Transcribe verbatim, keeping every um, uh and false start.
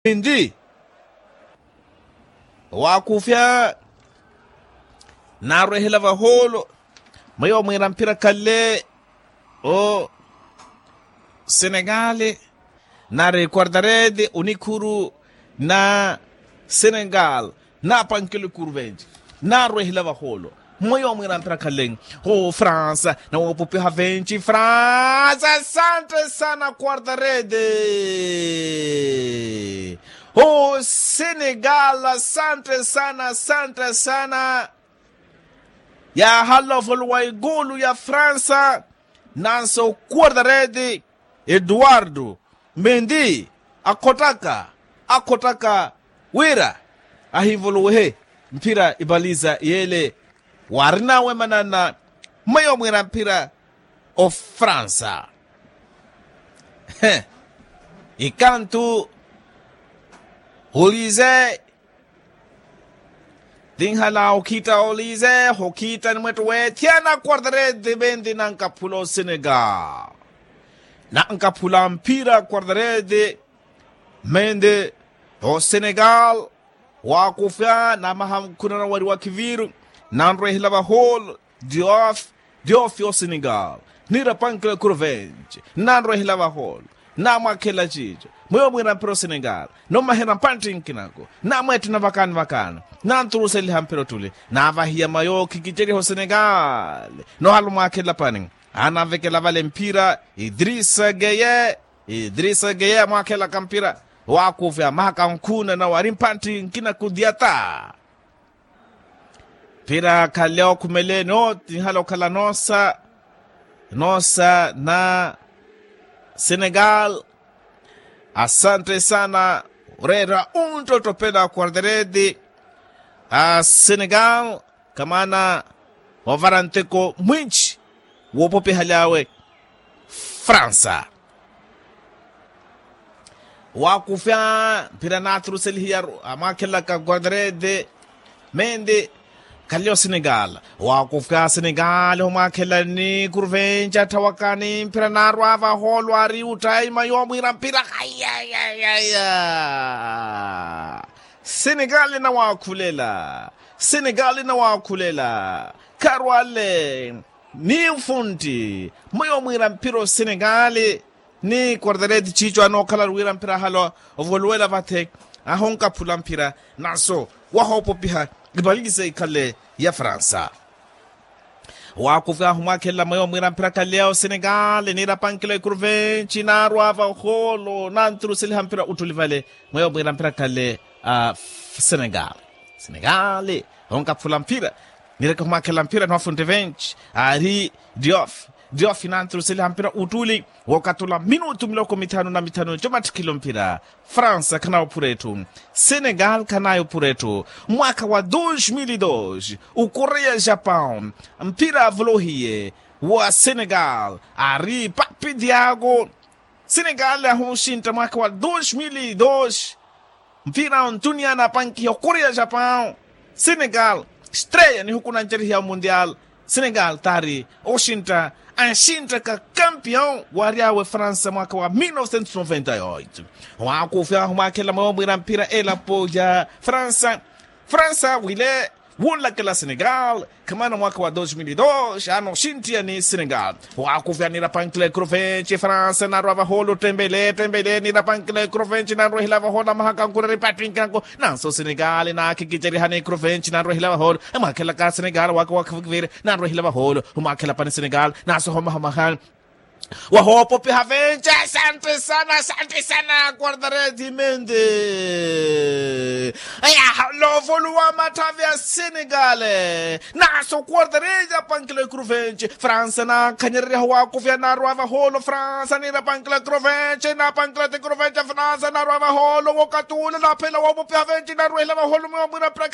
Mendi. Waakufya naarwehela vahoolo. Mweyo mwiira mphira khale o senegali nari quartarede onikhuru na senegali. Naapankile kurvenci naarwehela vahoolo. Mweyo mwiira mphira khale o fransa nawoopopiha venci fransa asante sana quartarede. O senegali asante sana asante sana. Yaahala ovolowa ikulu ya fransa nanso quartarede eduardo mendi akhottaka akhottaka wira ahivolowehe mphira ipaliza yele. Waarinawe manana mweyo mwiira mphira ofransa. Ikantu olize tinhala okhitta olize okhitta ni mwetto weethyana quartarede vendi nankaphula osenegal. Nankaphula mphira quartarede mende osenegal. Waakufya namaha nkhuna nawariwa khiviru nanrwehela vahoolo. Diof diof osenegal nirapankela kurvenci nanrwehela vahoolo. Namwakhela ciico mweyo mwiira mphira osenegal. Nommahera mpantti nkinako namweettena vakaani vakaani nanturuseliha mphira ottuli navahiya mayo khikiceriha osenegal. Nohala omwakhela pani anavekela vale mphira idrisa geye. Idrisa geye amwakhelaka mphira waakufya amahaka nkhuna nawari mpantti nkina kudyata. Mphira khale okhumeleeni oti nihala okhala noosa noosa na senegal. Asante sana oreera onttottopela quartarede a senegal. Kamaana ovara nteko mwinci woopopihaly'awe fransa. Waakufya mphira naaturuselihiyaru amwaakhelaka quartarede mende khale osenegal. Waakufya senegal omwaakhelani kurvenci atthawakani mphira naarwa vahoolo ari uttaima yoomwiira mphira. Ayayayaya senegali nawaakhulela senegali nawaakhulela. Kharwale ni nfuntti mweyo mwiira mphira osenegali ni quartarete ciico anookhala ari wira mphira ahala ovoluwela vathe ahonkaphula mphira nanso wahoopopiha ipaliza ikhale ya fransa. Waakufya ahumwaakhelela mweyo mwiira mphira khale ya osenegali niirapankela ekuruventi naarwa vahoolo nanturuseliha mphira uttuli vale mweyo mwiira mphira khale a senegali. Senegali onkaphula mphira nireke ohumwaakhelela mphira niwafuntte venti ari diof diof nanturuseliha mphira uttuli wookatula minutu miloko mithanu na mithanu comattikhilo mphira. Fransa khanayo ophura etthu senegali khanayo ophura etthu. Mwaakha wa dos mil e dos okoreya japan mphira avolohiye wa senegali ari papi diago. Senegali ahuxintta mwaakha wa dos mil e dos mphira ontuniya anapankiha okoreya japan. Senegali estreya nihuku nancerihya omundiali senegali taari oxintta anxinttaka kampion waary'awe fransa mwaakha wa mil novecentos noventa e oito. Waakufya ahumwaakhelela mweyo mwiira mphira elapo ya fransa fransa wile wunlakela senegali. Khamana mwaakha wa dos mil e dos anoxintthiya ni senegali. Waakufya niirapankela ekuruventi fransa naarwa vahoolo tembele tembele niirapankela ekuruventi naarwehela vahoolo amahaka nkureri pattinkanko nanso senegali naakhikiceriha ni ekuruventi naarwehela vahoolo. Amwaakhelaka senegali waakha waakha vukiviri naarwehela vahoolo. Humwaakhela pani senegali nanso homahomahani wahoopopiha vence asante sana asante sana quartaredi mende. Aya loovoluwa matthavi a senegale nanso quartaredi apankela ekuruventi fransa naakhanyereryaha waakufya naarwa vahoolo fransa niirapankela ekuruventi naapankela ti kuruventi fransa naarwa vahoolo wokatula naaphela woopopiha venti naarwehela vahoolo mweyo mwiira